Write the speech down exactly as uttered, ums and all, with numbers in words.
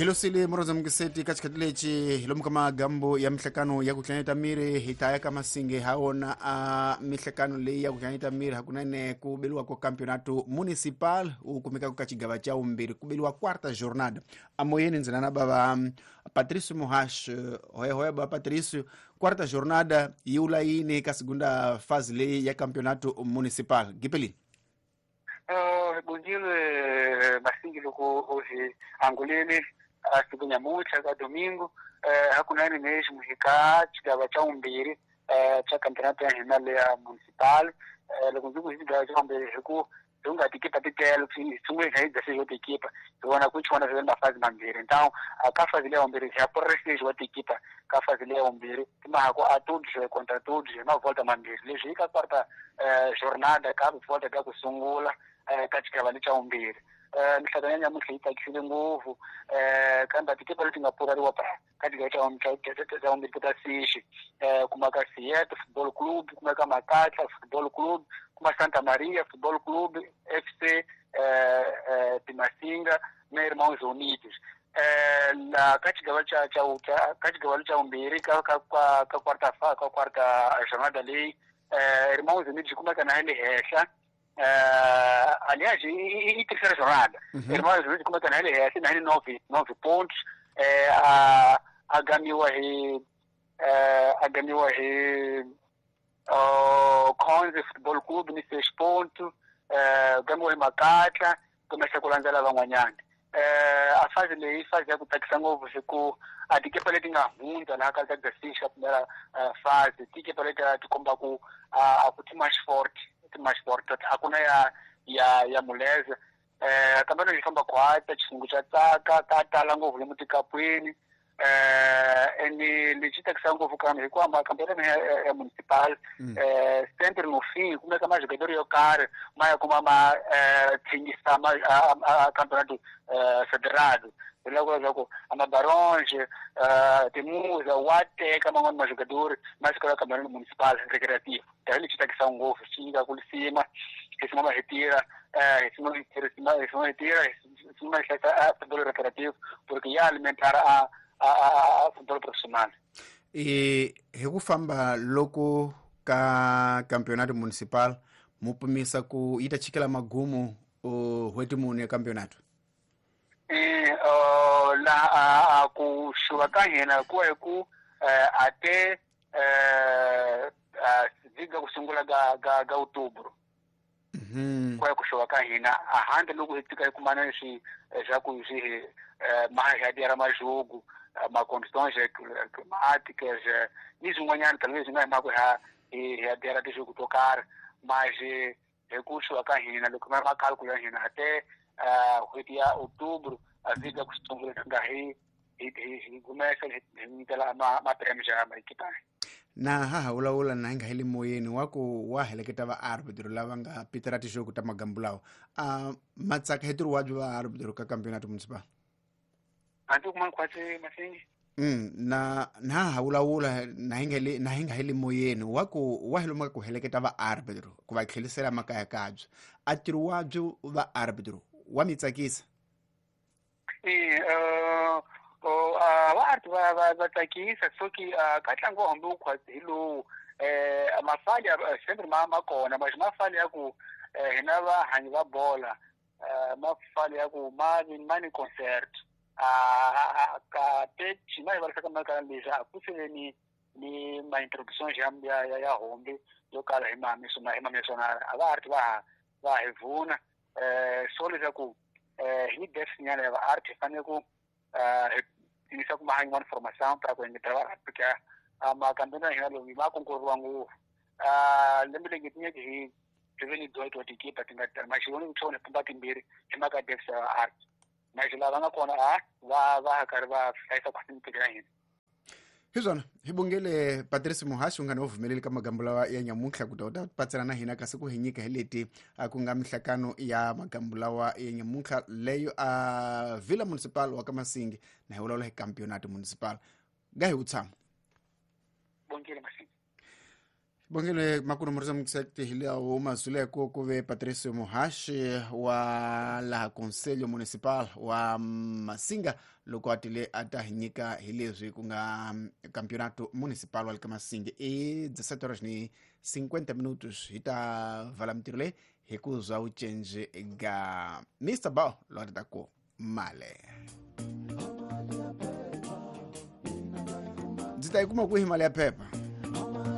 Hilosile moroza mukiseti ka xikhathi lexi hi lomu ka magambo ya mihlekano ya ku hlanyeta miri hi ta ya ka Masinge ha wona a mihlekano leyi ya ku hlanyeta miri hakunene ku beliwa ko campeonato municipal u kumeka ka xigava xa vumbirhi ku beliwa quarta jornada amoyeni ndzi na bava Patricio Muhash hoya hoya ba Patricio quarta jornada yi wula yini ka segunda fase leyi ya campeonato municipal gipelini. Uh, bongile Masinge loko hoje angolele a segunda nyamuntlha ka domingo eh hakunene mesmo hi ka xigava xa vumbirhi eh xa campeonato ya hina leya municipal eh loko ndzi ku hi xigava xa vumbirhi hi ku hi nga tikipa ti tele sungule hi dzeseis wa tikipa hi vona ku chona swi mafazi mambirhi então a ka fazi leya vumbirhi hi ya seis wa tikipa ka fazi leya vumbirhi timahako a todos contra todos hi mavolta mambirhi leswi hi ka quarta eh jornada ka volta ka ku sungula ka xigava lexa vumbirhi eh mihlangano ya nyamuntlha yi tsakisile ngopfu eh kambe tikipa leti nga pfurariwa pa ka xigava xa xa vumbirhi ta sixi eh kuma ka Siete Football Club kuma ka Makatla Football Club kuma Santa Maria Football Club F C eh eh Timasinga na Irmãos Unidos eh la ka xigava xa xa ka xigava xa vumbirhi ka ka ka quarta fa ka quarta jornada leyi eh Irmãos Unidos kuma ka na le henhla. Uh, aliás, e, e terceira jornada. Uhum. Irmãos Unidos como é que é assim, nove, nove pontos. É, a a ganhou a ganhou o Conze Futebol Clube ni seis pontos, é, ganhou Makatla, começa com lanzela van'wanyana. É, a fase leyi fase ya ku tsakisa ngopfu hi ku a tikepa leti nga hundza laha ka dzeseis ka primeira fase tikepa leti ti komba ku a ku ti mais forte mais forte a ku na ya ya ya muleza eh kambe loko hi famba khwata xilungu xa tsaka ka tala ngopfu lomu tikapweni eh ene lexi tsakisa ngopfu kambe hikuva makambelo ya, ya municipal eh sempre no fim kumeka majogador yo karhi ma ya kuma ma eh thingisa ma a campeonato federado loko loko amabaronge eh timuza wa teka man'wana majogador ma fika ka campeonato municipal recreativo tani lexi tsakisa ngopfu xi nyika ku lisima hi sima ma hetira eh hi sima hi sima hi sima hetira hi sima hi hlayisa futebol recreativo porque ya alimentar a a a futebol profissional. E hi ku famba loko ka campeonato municipal mu pimisa ku yi ta chikela magumu n'hweti mune ya campeonato. Eh la a ku xuva ka hina ku hi ku a te eh viga ku sungula ga ga ga outubro. Mhm. Ku ku xuva ka hina a handle loko hi tika hi kumana swi swa ku swi mahadiera majogo ma condições climáticas ni swin'wanyana talvez swi nga hi mhaka ha hi hadiera tijogo to karhi mas hi ku xuva ka hina loko ma ma cálculo ya hina até n'hweti ya outubro a vika ku sungula nga hi hi hi kumesa hi nyikela ma ma prêmio ya maekipa. Na ha ha vulavula na hi nga heli moyeni wa ku wa heleketa va árbitro lava nga pitela tixoko ta magambu lawa a matsaka hi ntirho wa byo va árbitro ka campeonato municipal. A ndzi kuma khwatsi Masingi. Mm na na ha vulavula na hi nga heli na hi nga heli moyeni wa ku wa heloma ku heleketa va árbitro ku va tlhelisela makaya kabyo a ntirho wa byo va árbitro wa mi tsakisa. Eh uh o a va art va va va tsakisa soki ka ntlangu wa hambi wu khwatsi hi lowu eh mafali sempre ma ma kona mas mafali ya ku hina vahanyi va bola mafali ya ku ma ma ni concert a ka te xima hi varisa ka mhaka leswi a ku se ni ni ma introduction ya ya ya hombi yo kala hi mami sona hi mami sona a va art va va hi vuna eh so leswaku eh hi depth nyana ya va art hi fanele ku eh tivisa ku mahanya one formação para ku engetela va porque a makambelo ya hina lomu ma konkurriwa ngopfu a lembe leri tinyeke hi hi ve ni dezoito wa tikipa ti nga tala maxivoni ku tlhona pumba timbirhi hi mhaka depth ya art mas lava nga kona a va va karhi va hlayisa khwatsi ya hina. Hi swona hi bongele Patrice Muhashi u nga ni vumeleli ka magambo lawa ya nyamuntlha ku ta u ta patsela na hina kasi ku hi nyika hi leti ku nga mihlakano ya magambo lawa ya nyamuntlha leyo a Vila Municipal wa ka Masingi na hi vulavula hi campeonato municipal ga hi u tshama. Bongile Masingi. Bongile makulu murisa muksekti hilawo mazuleko kuve Patricio Muhashi wa laha Conselho Municipal wa Masinga loko atile ata hi nyika hi leswi ku nga Campeonato Municipal wa le ka Masinga i dezessete horas ni cinquenta minutos hi ta vala mintirho leyi hi ku zwa u cenje ga Mister Bao lo ta ku male ndzi ta yi kuma kwihi mali ya phepha.